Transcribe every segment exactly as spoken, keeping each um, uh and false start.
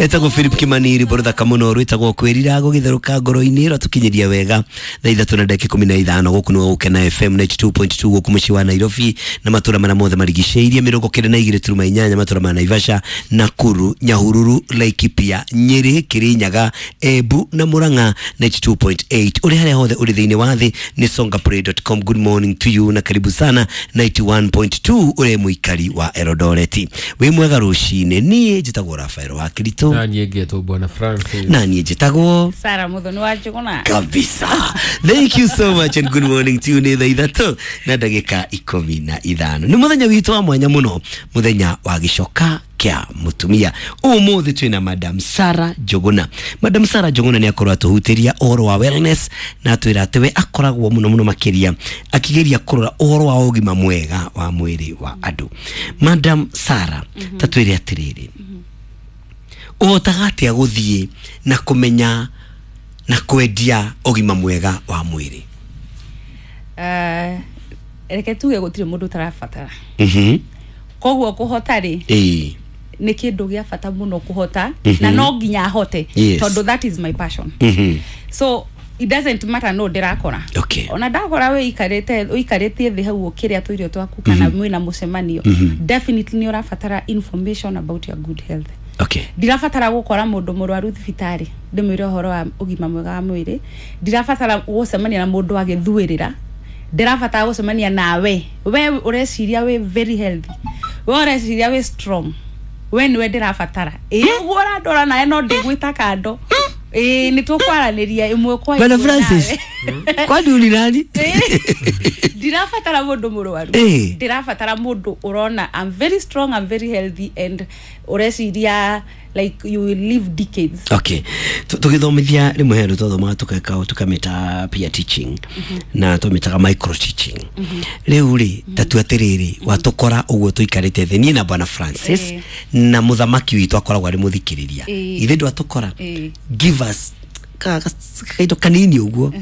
Etagwo Philip Kimani, rwĩmbo rũthaka mũno rwĩtagwo Kwĩrira gũgĩtherũka ngoro-inĩ, rwatũkinyĩria wega thaa ithatũ na ndagĩka ikũmi na ithano. Gũkũ nĩ Gũkena F M ninety two point two gũkũ mũciĩ wa Nairobi na matũra marĩa mothe marigicĩirie, mĩrongo kenda na igĩrĩ turuma inyanya, matũra ma Naivasha, Nakuru, Nyahururu, Laikipia, Nyeri, Kirinyaga, Embu na Murang'a ninety two point eight. Ũrĩ harĩa hothe ũrĩ thĩinĩ wa thĩ nĩ songaplay dot com. Good morning to you na karibu sana ninety one point two ũrĩ mũikari wa Eldoret. Wĩ mwega rũcinĩ. Niĩ njĩtagwo Rafael wa Kirito. Na niĩ ngetwo Bwana Francis. Na niĩ njĩtagwo Sarah Muthoni wa Njuguna. Kabisa. Thank you so much and good morning to you. Nĩ thaa ithatũ na ndagĩka ikũmi na ithano. Nĩ mũthenya witũ wa mwanya mũno, mũthenya wa gĩcoka kĩa mũtumia. Ũmũthĩ twĩna Madam Sarah Njuguna. Madam Sarah Njuguna nĩ akorwo atũhutĩria ũhoro wa wellness na atwĩra atĩ we akoragwo mũno mũno makĩria akĩgeria kũrora ũhoro wa ũgima mwega wa mwĩrĩ wa andũ. Madam Sarah, ta twĩre atĩrĩrĩ, ũhotaga atĩa gũthiĩ na kũmenya na kwendia ũgima mwega wa mwĩrĩ? Uh, reke tuge gũtirĩ mũndũ ũtarabatara. Mhm. Koguo kũhota rĩ, Ĩĩ. nĩ kĩndũ gĩa bata mũno kũhota, mm -hmm. na no nginya ahote, Yes. tondũ that is my passion. mm -hmm. So it doesn't matter no ndĩrakora. Okay. Ona ndakora wĩikarĩte ũikarĩtie thĩ hau ũkĩrĩa tũirio twaku kana mm -hmm. mwĩna mũcemanio, mm -hmm. definitely nĩ ũrabatara information about your good health. Okay. Ndirabatara gũkora mũndũ mũrwaru thibitarĩ ndĩmwĩre ũhoro wa ũgima mwega wa mwĩrĩ. Ndirabatara gũcemania na mũndũ agĩthuĩrĩra. Ndirabatara gũcemania nawe we ũreciria wĩ very healthy, we ũreciria wĩ strong, we nĩwe ndĩrabatara. Ĩĩ ũguo ũrandora nawe no ndĩgwĩta kando. Ĩĩ nĩ tũkwaranĩria ĩmwe kwa Bwana ĩmwe Francis, nawe. kwani uri nani? Ndirabatara mũndũ mũrwaru. Ĩĩ. Ndirabatara mũndũ ũrona I'm very strong, I'm very healthy and ũreciria like you will live decades. Okay. Tũgĩthomithia rĩmwe he andũ twathomaga tũkeka tũkamĩta peer teaching na twamĩtaga micro teaching. Rĩu rĩ, ta tu atĩrĩrĩ, watũkora ũguo tũikarĩte thĩ niĩ na Bwana Francis Ĩĩ. na mũthamaki witũ akoragwo arĩ mũthikĩrĩria. Ĩĩ. Ithe ndwatũkora. Ĩĩ. Give us ka ka- kaindo kanini ũguo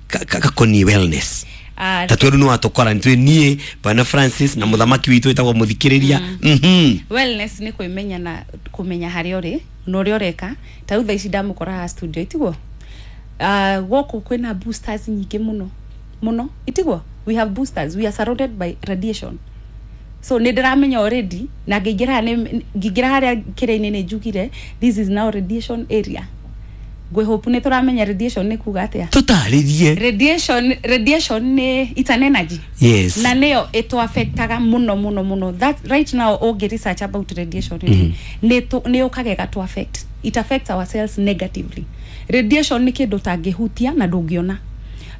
ka- ka- gakoniĩ wellness. Ah, Ta twĩrũ nĩ watũkora nĩ twĩ niĩ Bwana Francis na mũthamaki witũ wĩtagwo mũthikĩrĩria. Mhm. Wellness nĩ kwĩmenya na kũmenya harĩa ũrĩ na ũrĩa ũreka. Ta rĩu thaa ici ndamũkora haha studio itiguo, uh, gũkũ kwĩna boosters nyingĩ mũno mũno itiguo. We have boosters, we are surrounded by radiation. So nĩ ndĩramenya already na ngĩingĩra nĩ ngĩingĩra harĩa kĩrĩa-inĩ nĩ njugire this is now radiation area. Ngwĩhope nĩ tũramenya radiation nĩ kuga atĩa. Tũtarĩrie. Radiation, radiation nĩ it's an energy. Yes. Na nĩyo ĩtũ-affectaga mũno mũno mũno. That right now ũngĩ research about radiation mm -hmm. nĩ nĩ ũkaga ĩgatũ affect. It affects our cells negatively. Radiation nĩ kĩndũ ũtangĩhutia na ndũngĩona,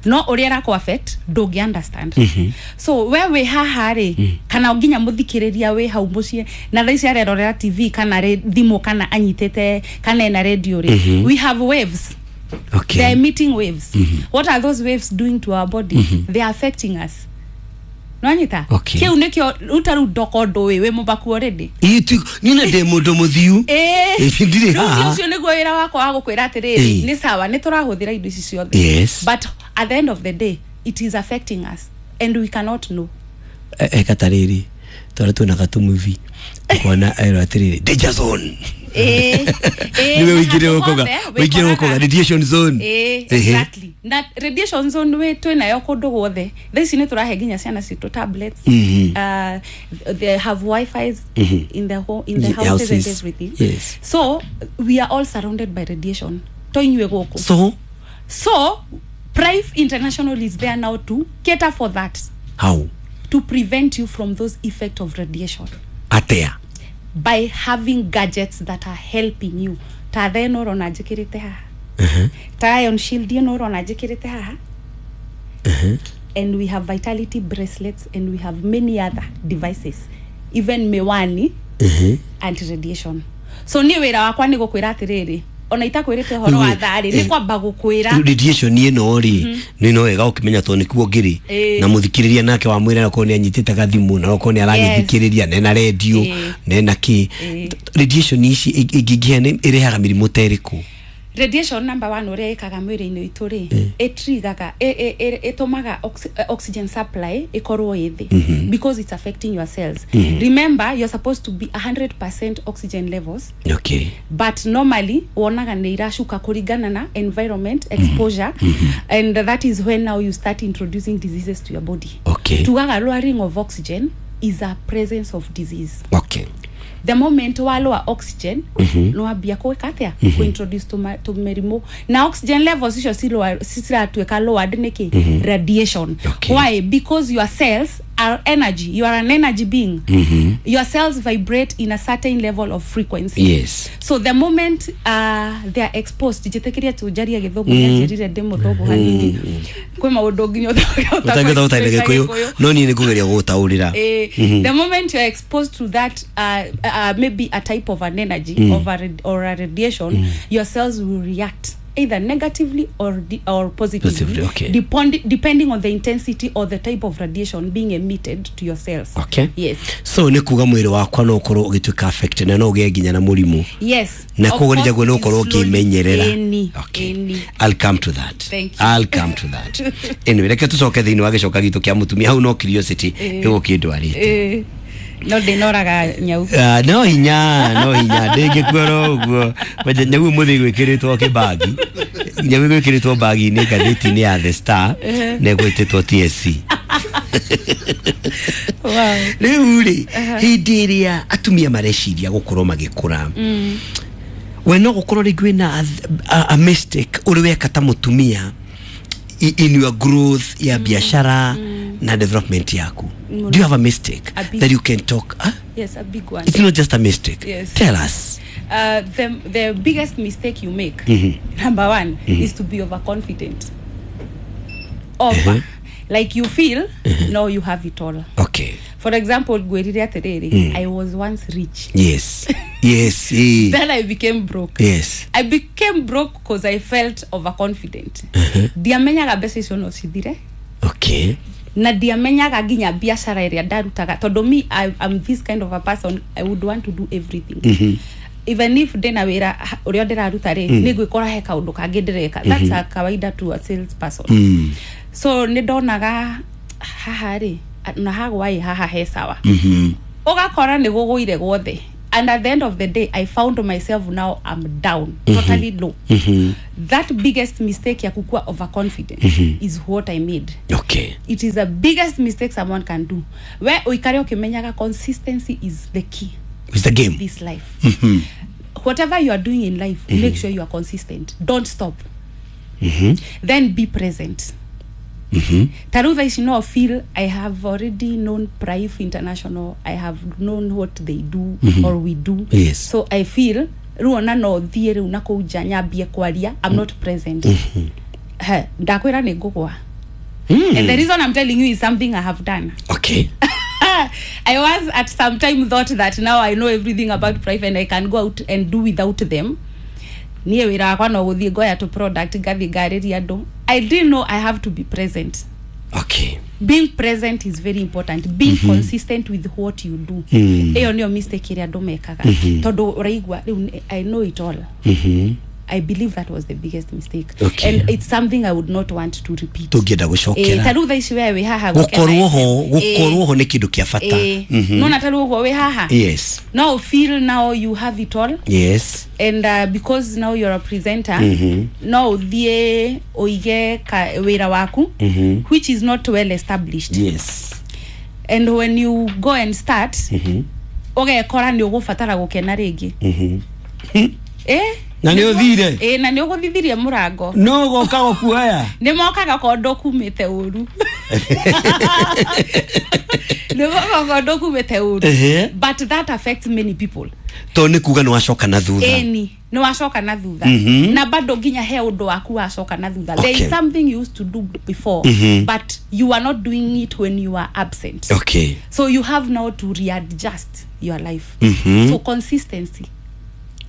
no ũrĩa ĩrakũ affect ndũngĩ understand. mm -hmm. So we wĩ haha rĩ, mm. kana nginya mũthikĩrĩria wĩ hau mũciĩ na thaa ici arerorera T V kana thimũ kana anyitĩte kana ena radio rĩ, mm -hmm. we have waves. Okay. They are emitting waves. mm -hmm. What are those waves doing to our body? mm -hmm. They are affecting us. Nwanyita? Okay. Kĩu nĩkĩo rĩu ta rĩu ndoko ndũĩ wĩ mũbaku already. Ĩĩ tu niĩ na ndĩ mũndũ mũthiu. Ĩĩ. Ĩĩ, ndirĩ Rĩu haha. ũcio nĩguo wĩra wakwa wa gũkwĩra atĩrĩrĩ, Ĩĩ. nĩ sawa nĩ tũrahũthĩra indo ici ciothe. Yes. But at the end of the day it is affecting us and we cannot know. Eka tarĩrĩ twarĩa twĩna gatumuvi ukona erwo atĩrĩrĩ danger zone. Ĩĩ. Ĩĩ, Niwe na ũingĩre handũ ũkoga hothe ũingĩre wĩkoraga. ũkoga radiation zone. Ĩĩ, Ehe. exactly. Na radiation zone wĩ twĩnayo kũndũ guothe. Thaa ici nĩ tũrahe nginya ciana citũ tablets. Mhm. Uh, they have wifi's Mhm. in the home, in the Ye- houses and houses. everything. Yes. So we are all surrounded by radiation. To inyuĩ gũkũ. So So Prife International is there now to cater for that. How? To prevent you from those effect of radiation. Atĩa? By having gadgets that are helping you. Ta thaa ĩno ũrona njĩkĩrĩte haha. Ta iron shield ĩno ũrona njĩkĩrĩte haha. And we have vitality bracelets and we have many other devices. Even miwani anti-radiation. So niĩ wĩra wakwa nĩ gũkwĩra atĩrĩrĩ, ona itakwĩrĩte ũhoro wa thaa rĩ, nĩ kwamba gũkwĩra. Radiation ĩno rĩ, nĩ no wega ũkĩmenya tondũ nĩkuo ngĩrĩ. Ĩĩ. Na mũthikĩrĩria nake wamwĩra okorwo nĩ anyitĩte gathimũ na okorwo nĩ aragĩthikĩrĩria nena radio Ĩĩ. nena kĩ. Ĩĩ. Radiation ici ĩngĩingĩha nĩ ĩrehaga mĩrimũ ta ĩrĩkũ? Radiation number one ũrĩa ĩkaga mwĩrĩ-inĩ witũ rĩ, ĩtrigaga, ĩtũmaga oxygen supply ĩkorwo ĩ thĩ because it's affecting your cells. Remember, you're supposed to be one hundred percent oxygen levels. Okay. But normally wonaga nĩ iracuka kũringana na environment exposure, and that is when now you start introducing diseases to your body. Okay. Tugaga lowering of oxygen is a presence of disease. Okay. The moment wa lower oxygen, mm-hmm. no ambia kwĩka atĩa? Mm-hmm. Ku-introduce to ma, to mĩrimũ. Na oxygen levels icio ciratuĩka lowered nĩkĩ? Mm-hmm. Radiation. Okay. Why? Because your cells are energy. You are an energy being. Mm-hmm. Your cells vibrate in a certain level of frequency. Yes. So the moment uh, they are exposed, njĩtĩkĩria tũnjarie gĩthũngũ nĩanjĩrire ndĩ mũthũngũ hanini. Kwĩ maũndũ nginya ũtangĩtaũta na Gĩkũyũ, no niĩ nĩngũgeria gũgũtaũrĩra. The moment you are exposed to that uh, uh, maybe a type of an energy mm. of a rad- or a radiation, mm. your cells will react either negatively or de- or positively, positively, okay. depend- depending on the intensity or the type of radiation being emitted to your cells. Okay. Yes. So nĩ kuga mwĩrĩ wakwa no ũkorwo ũgĩtuĩka affected na no ũgĩe nginya na mũrimũ. Yes. Na koguo nĩ njagwo no ũkorwo ũkĩmenyerera. Okay. I'll come to that. Thank you. I'll come to that. Anyway, reke tũcoke thĩinĩ wa gĩcoka gitũ kĩa mũtumia hau no curiosity ĩgũkĩndwarĩte. No ndinoraga nyau. Uh, no hinya, no hinya ndingĩkuora ũguo. Nyau mũthĩ gwĩkĩrĩtwo kĩbagi. Nyau gwĩkĩrĩtwo bagi-inĩ ngathĩti-inĩ ya The Star na ĩgwĩtĩtwo T S C. Wow. Rĩu rĩ, hĩndĩ ĩrĩa atumia mareciria gũkorwo magĩkũra, we no gũkorwo rĩngĩ wĩna a, a mistake ũrĩ weka ta mũtumia in your growth ya biashara na development yaku. Do you have a mistake a big, that you can talk? Huh? Yes, a big one. It's not just a mistake. Yes. Tell us. Uh, the the biggest mistake you make, mm-hmm. number one, mm-hmm. is to be overconfident. Over. Uh-huh. Like you feel, uh-huh. no, you have it all. Okay. For example, gwĩrire atĩrĩrĩ, mm. I was once rich. Yes. Yes. Then I became broke. Yes. I became broke because I felt overconfident. Uh-huh. Ndiamenyaga mbeca icio no cithire. Okay. Na ndiamenyaga nginya biashara ĩrĩa ndarutaga tondũ me I, I'm this kind of a person, I would want to do everything. Mm-hmm. Even if ndĩna wĩra ũrĩa ndĩraruta rĩ, mm. nĩ ngwĩkora he kaũndũ kangĩ ndĩreka. Mm-hmm. That's a kawaida to a sales person. Mm. So nĩ ndonaga haha rĩ na hagwa ĩ haha he sawa. Mm-hmm. Ũgakora nĩ gũgũire guothe. And at the end of the day, I found myself now I'm down, mm-hmm. totally low. Mm-hmm. That biggest mistake ya kukua overconfident mm-hmm. is what I made. Okay. It is the biggest mistake someone can do. Where uikare ukimenyaga consistency is the key. It's the game. This life. Mm-hmm. Whatever you are doing in life, mm-hmm. make sure you are consistent. Don't stop. Mm-hmm. Then be present. Mm-hmm. Tarutha ici no feel I have already known Prife International. I have known what they do mm-hmm. or we do. Yes. So I feel ruona no thie riu na kuu nja nyambie kwaria, I'm not present. Mm-hmm. He, ndakwira nĩ ngũgwa. Mm. And the reason I'm telling you is something I have done. Okay. I was at some time thought that now I know everything about Prife and I can go out and do without them. Niĩ wĩra wakwa no gũthiĩ ngoya tu product ngathiĩ ngarĩria andũ. I didn't know I have to be present. Okay. Being present is very important. Being mm-hmm. consistent with what you do. Mm. Ĩyo nĩyo mistake ĩrĩa andũ mekaga. Mm-hmm. Tondũ ũraigua rĩu I know it all. Mm-hmm. I believe that was the biggest mistake. Okay. And it's something I would not want to repeat. Tũngĩenda gũcokera. Eh, ta rĩu thaa ici we wĩ haha gũkorwo ho, gũkorwo ho nĩ kĩndũ kĩa bata. Mm-hmm. No na ta rĩu ũguo wĩ haha. Yes. Now feel now you have it all. Yes. And uh, because now you're a presenter, mm-hmm. no ũthiĩ ũige wĩra waku, mm-hmm. which is not well established. Yes. And when you go and start, mm-hmm. ũgekora nĩ ũgũbatara gũkena rĩngĩ. Mm-hmm. Eh? Na nĩ ũthire? Ĩ, na nĩ ũgũthithirie mũrango. No goka gũkuoya? Nĩ mokaga kondo kumĩte ũru. Nĩ mokaga kondo kumĩte ũru. But that affects many people. To nĩ kuga nĩ wacoka na thutha. Ĩni, nĩ wacoka na thutha. Mm-hmm. Na bado nginya he ũndũ waku wacoka na thutha. Okay. There is something you used to do before, mm-hmm. but you are not doing it when you are absent. Okay. So you have now to readjust your life. Mm-hmm. So consistency.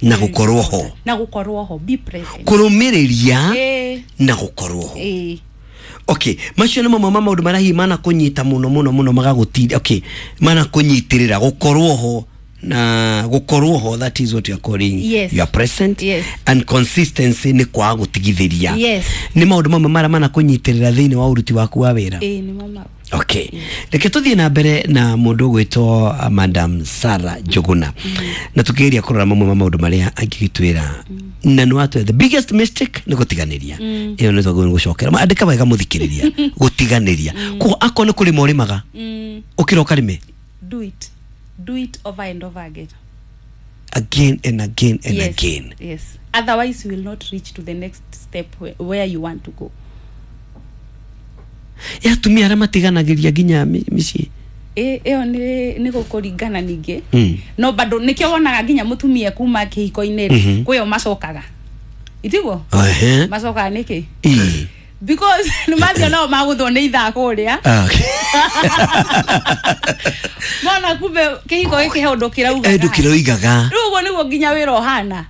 Na gũkorwo ho. Na gũkorwo ho, be present. Kũrũmĩrĩria eh. na gũkorwo ho. Eh. Okay, macio nĩ mamwe ma maũndũ marĩa hihi manakũnyita mũno mũno mũno magagũtinda. Okay, manakũnyitĩrĩra gũkorwo ho Na gukorwo ho, that is what you are calling Yes. you are present. Yes. And consistency nĩ kwaga gũtigithĩria. Yes. Nĩ maũndũ mamwe marĩa manakũnyitĩrĩra thĩinĩ wa ũruti waku wa wĩra. Ĩĩ, nĩmo mau. Okay, reke tũthiĩ na mbere na mũndũ ũgwĩtwo uh, Madam Sarah Njuguna, na tũkĩgeria kũrora mamwe ma maũndũ marĩa angĩgĩtwĩra, na nĩ watwĩra the biggest mistake nĩ gũtiganĩria. Ĩyo nĩ twagĩrĩirwo nĩ gũcokera. Ma- andĩka wega mũthikĩrĩria, gũtiganĩria. Koguo akorwo nĩ kũrĩma ũrĩmaga, mm. ũkĩra ũkarĩme. Do it, do it over and over again. Again and again and Yes. again. Yes, otherwise you will not reach to the next step where, where you want to go. Ya atumia arĩa matiganagĩria nginya mi- mĩciĩ. Ĩ- ĩyo nĩ nĩ gũkũringana ningĩ, Mm. no bado nĩkĩo wonaga nginya mũtumia kuma kĩhiko-inĩ rĩ, kwĩyo macokaga, itiguo? Ehe. Macokaga nĩkĩ? Ĩ. Because nĩ mathiĩ nao magũthwo nĩ ithaa kũrĩa. Ah, okay. Mona kumbe kĩhiko gĩkĩ he ũndũ kĩraugaga. Ũndũ kĩroigaga. Rĩu ũguo nĩguo nginya wĩra ũhana,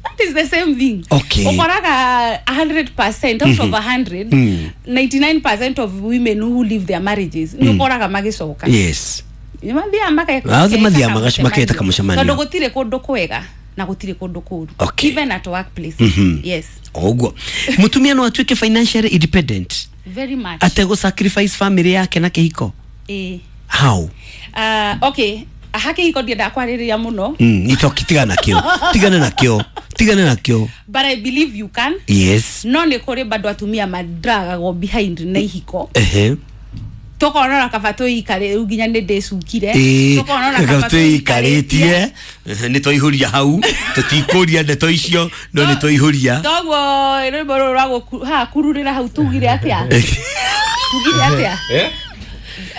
that is the same thing. Okay. Ũkoraga one hundred percent out of one hundred, Mm. ninety-nine percent of women who leave their marriages nĩ ũkoraga magĩcoka. Yes Nĩ mathiaga maka- Othe mathiaga maketa magac- maketa kamũcemanio. Tondũ gũtirĩ kũndũ kwega na gũtirĩ kũndũ kũru. Okay. Even at workplace. Mhm. Yes. O ũguo mũtumia no atuĩke financially independent Very much. ategũ sacrifice family yake na kĩhiko? Ĩĩ. How? Uh, okay, ha kĩhiko ndiendaga kwarĩrĩria mũno. mm, itoki tigana nakĩo, tigana nakĩo, tigana nakĩo. But I believe you can. Yes no nĩ kũrĩ bado atumia madragagwo behind na ihiko. Ehe Tũkona ona kaba twĩikare rĩu nginya nĩ ndĩcukire. Ĩĩ, Tũkona ona kaba twĩikarĩtie. Ehe, nĩ twaihũria hau, tũtikũria ndeto icio, no nĩ twaihũria. Toguo rwĩmbo rũrũ rwa gũku- ha kururĩra hau, tugire atĩa, tugire atĩa? Eh?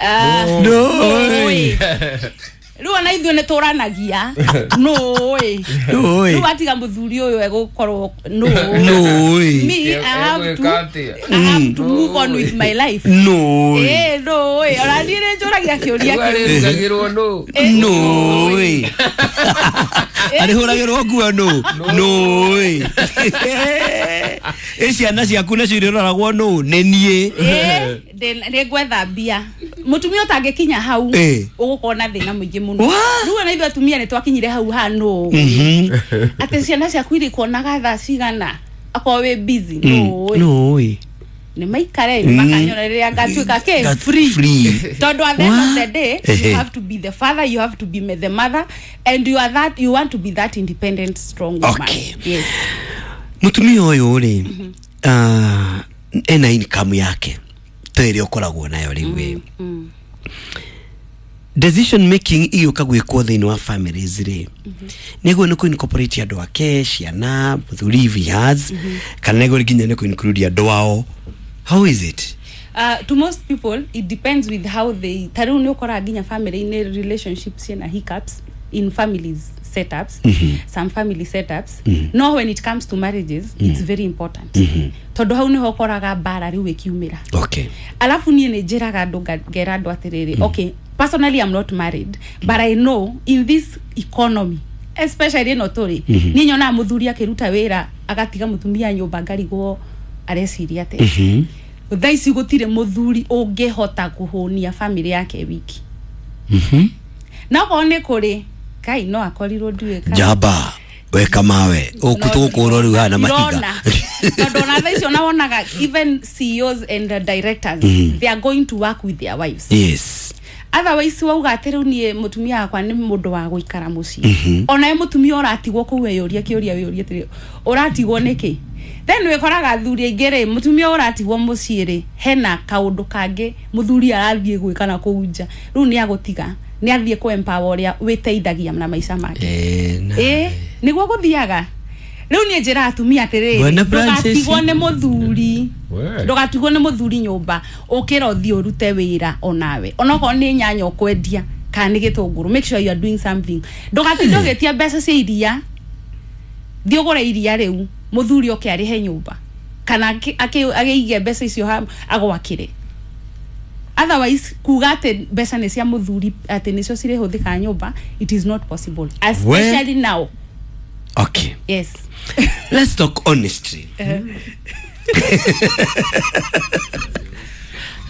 Ah, No. Nũĩ. Rĩu ona ithuĩ nĩ tũranagia nũĩ. Nũĩ. Rĩu atiga mũthuri ũyũ egũkorwo nũĩ. Nũĩ. Me, I have to, Egwĩka atĩa? I have to move on with my life. Nũĩ. Ĩĩ, nũĩ, ona niĩ nĩ njũragia kĩũria Rĩu kĩu. arĩrugagĩrwo nũ? Nũĩ arĩhũragĩrwo nguo nũ? Nũĩ ĩ ciana ciaku nacio irĩroragwo nũ? Nĩ niĩ. Ĩĩ, ndĩ- nĩ ngwetha mbia. Mũtumia ũtangĩkinya hau, Ĩĩ. ũgũkorwo na thĩna mũingĩ mũno. Wa? Rĩu ona ithuĩ atumia nĩ twakinyire hau ha nũ atĩ ciana ciaku irĩkuonaga thaa cigana akorwo wĩ busy? Nũĩ. Nũĩ. Nĩ maikare makanyona rĩrĩa ngatuĩka kĩ? Gat- Free. Free. Tondũ at the end of the day, Ehe. you have to be the father, you have to be the mother, and you are that, you want to be that independent, strong woman. Okay. Yes. Mũtumia ũyũ rĩ, ah, ena income yake ta ĩrĩa ũkoragwo nayo rĩu ĩ, mm. decision making igĩũka gwĩkwo thĩinĩ wa families rĩ, nĩguo nĩ kũ-incorporate andũ ake, ciana, mũthuri if he has, kana nĩguo nginya nĩ kũ-include andũ ao? How is it? Uh, to most people it depends with how they, ta rĩu nĩ ũkoraga nginya family-inĩ relationships ciĩna hiccups in families setups, some family setups. No, when it comes to marriages, it's very important, tondũ hau nĩho ũkoraga mbara rĩu ĩkiumĩra. Okay Alafu niĩ nĩ njĩraga andũ, nga- ngera andũ atĩrĩrĩ, okay, personally I'm not married, but I know in this economy, especially ĩno tũrĩ, niĩ nyonaga mũthuri akĩruta wĩra agatiga mũtumia nyũmba, ngarigwo areciria atĩa. Thaa ici gũtirĩ mũthuri ũngĩhota kũhũnia family yake wiki, na okorwo nĩ kũrĩ kai no akorirwo ndiũĩ kana- Njamba weka mawe ũkũtũgũkũrwo rĩu haha na mahiga. Ndĩrona. Tondũ ona thaa icio nawonaga even C E Os and uh, directors, they are going to work with their wives. Yes otherwise wauga atĩ rĩu niĩ mũtumia wakwa nĩ mũndũ wa gũikara mũciĩ, onawe mũtumia ũratigwo kũu weyũria kĩũria, wĩyũrie atĩrĩ, ũratigwo nĩkĩ? Then wĩkoraga athuri aingĩ rĩ, mũtumia ũratigwo mũciĩ rĩ, hena kaũndũ kangĩ mũthuri arathiĩ gwĩka na kũu nja. Rĩu nĩ agũtiga, nĩ athiĩ kũ empower ũrĩa wĩteithagia na maica make. Eh, na- Ĩ, nĩguo gũthiaga. Rĩu niĩ njĩra atumia atĩrĩrĩ, Bwana Francis. ndũgatigwo nĩ mũthuri. We. Ndũgatigwo nĩ mũthuri nyũmba, ũkĩra ũthiĩ ũrute wĩra onawe, onokorwo nĩ nyanya ũkwendia kana nĩ gĩtũngũrũ, make sure you are doing something. Ndũgatinde ũgĩtia mbeca cia iria, thiĩ ũgũre iria rĩu, mũthuri oke arĩhe nyũmba kana akĩ- akĩ- agĩige mbeca icio ha- agwakĩre. Otherwise kuga atĩ mbeca nĩ cia mũthuri, atĩ nĩcio cirĩhũthĩka nyũmba, it is not possible, especially now. Okay. Yes. Let's talk honestly.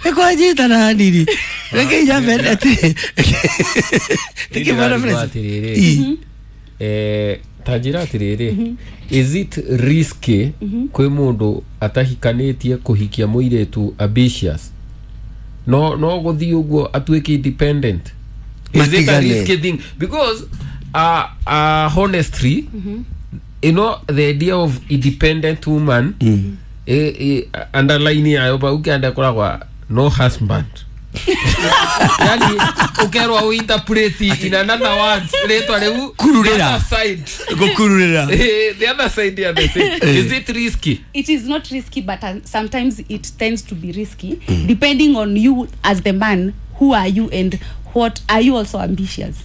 Nĩkwanjitana hanini. Reke njambe atĩ tĩkĩ Bwana Francis. Atĩrĩrĩ, eh, ta njĩra atĩrĩrĩ, is it risky kwĩ mũndũ atahikanĩtie kũhikia mũirĩtu ambitious, no no gũthiĩ ũguo atuĩke independent? Is it a Matigane. risky thing? Because uh, uh, honestly, you know the idea of independent woman, eh, eh, underline yayo bau kĩanda koragwa no husband, yani ukerwa uinterpret in another words rĩtwa rĩu. Kururĩra. The other side. Gũkururĩra. Eh, the other side ya the same. Is it risky? It is not risky, but uh, sometimes it tends to be risky, depending on you as the man. Who are you and what are you? Also ambitious?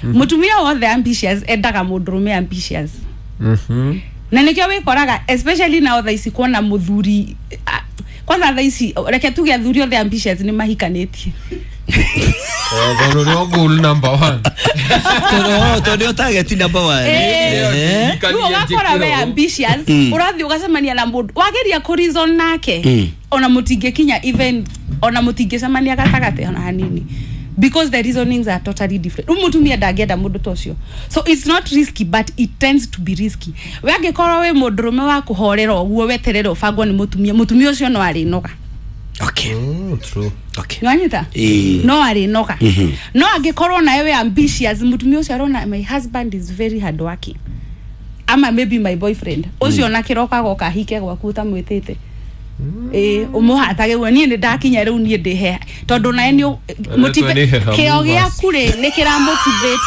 Mutumia wothe ambitious endaga mũndũrũme ambitious, Mhm. na nĩkĩo wĩkoraga especially now thaa ici kuona mũthuri, ah, kwanza thaa ici reke tuge athuri othe ambitious nĩ mahikanĩtie. Eh, tondũ nĩo goal number one. Tondũ tondũ nĩo target number one. Eh. Eh. Rĩu ũgakora we ambitious, ũrathiĩ ũgacemania na mũndũ wageria kũ reason nake, ona mũtingĩkinya even, ona mũtingĩcemania gatagatĩ ona hanini, because the reasonings are totally different. Rĩu mũtumia ndangĩenda mũndũ ta ũcio. So it's not risky, but it tends to be risky. We angĩkorwo wĩ mũndũrũme wa kũhorera ũguo, weterere ũbangwo nĩ mũtumia, mũtumia ũcio no arĩnoga. Okay. Mm, true. Okay. Nĩwanyita? Ĩĩ. No arĩnoga. No angĩkorwo nawe wĩ ambitious, mũtumia ũcio arona my husband is very hard working, ama maybe my boyfriend ũcio na kĩroko agoka ahike gwaku ũtamwĩtĩte, ĩĩ, ũmũhatage ũguo, niĩ nĩ ndakinya rĩu, niĩ ndĩ he tondũ nawe nĩ Rĩtwa nĩ heha kĩo movers. Gĩaku rĩ, nĩ kĩramotivate,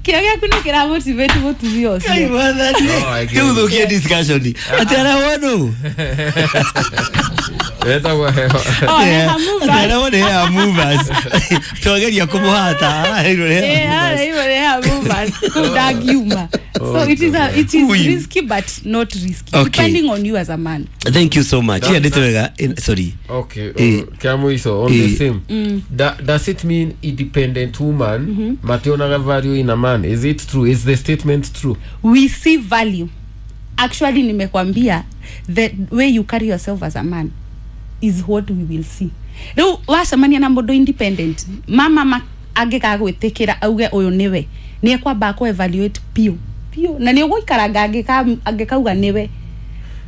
kĩo gĩaku nĩ kĩramotivate mũtumia Ngai ũcio. mwathani. Oh, I get Rĩu it. thũkie discussion. Atĩ arahwo Etagwo heho. Oh, heha movers. Atĩ arahwo nĩ heha movers. Twageria kũmũhata. Araheirwo nĩ heha Eh, movers. haya, hivyo ni hair movers. Kuu ndagiuma. So it is a, it is Ui. risky but not risky, Okay. depending on you as a man. Thank you so much. That- Yeah, ndĩtũ wega. Eh, sorry. Okay, Eh. uh, kĩa mũico on Eh. the same. Da, does it mean independent woman mationaga value in a man? Is it true? Is the statement true? We see value. Actually, nimekwambia the way you carry yourself as a man is what we will see. Rĩu wacemania na mũndũ independent, mama ma angĩgagwĩtĩkĩra auge ũyũ nĩwe, nĩ ekwamba kũ evaluate piũ piũ, na nĩ ũgũikaranga angĩka- angĩkauga nĩwe,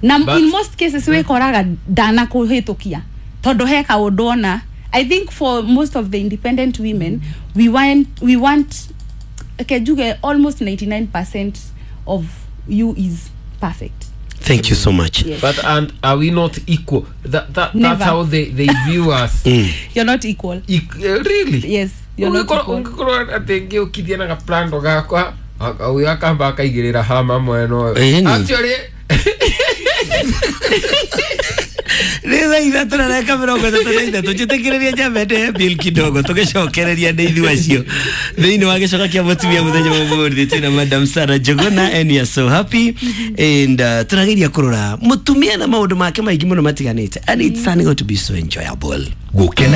na But- in most cases wĩkoraga ndanakũhĩtũkia tondũ he kaũndũ ona. I think for most of the independent women, we want, we want okay, njuge almost ninety-nine percent of you is perfect. Thank you so much. Yes. But and are we not equal? That, that, that's Never. how they, they view us. You're not equal. Eq- eh, really? Yes, you're not Ũngĩkorwo equal. Ũngĩkorwo atĩ ngĩũkithia na gaplando gakwa, ũyũ akamba akaigĩrĩra hama mwena ũyũ. Ĩni. Actually, Nĩ thaa ithatũ na ndagĩka mĩrongo ĩtatũ na ithatũ. Njĩtĩkĩrĩria njambe ndĩhe bill kidogo, tũgĩcokereria nĩ ithuĩ acio thĩinĩ wa gĩcoka kĩa mũtumia mũthenya wa ũmũthĩ. Twĩna Madam Sarah Njuguna and we are so happy and uh, tũrageria kũrora mũtumia na maũndũ make maingĩ mũno matiganĩte, and it's turning out to be so enjoyable. Gũkena.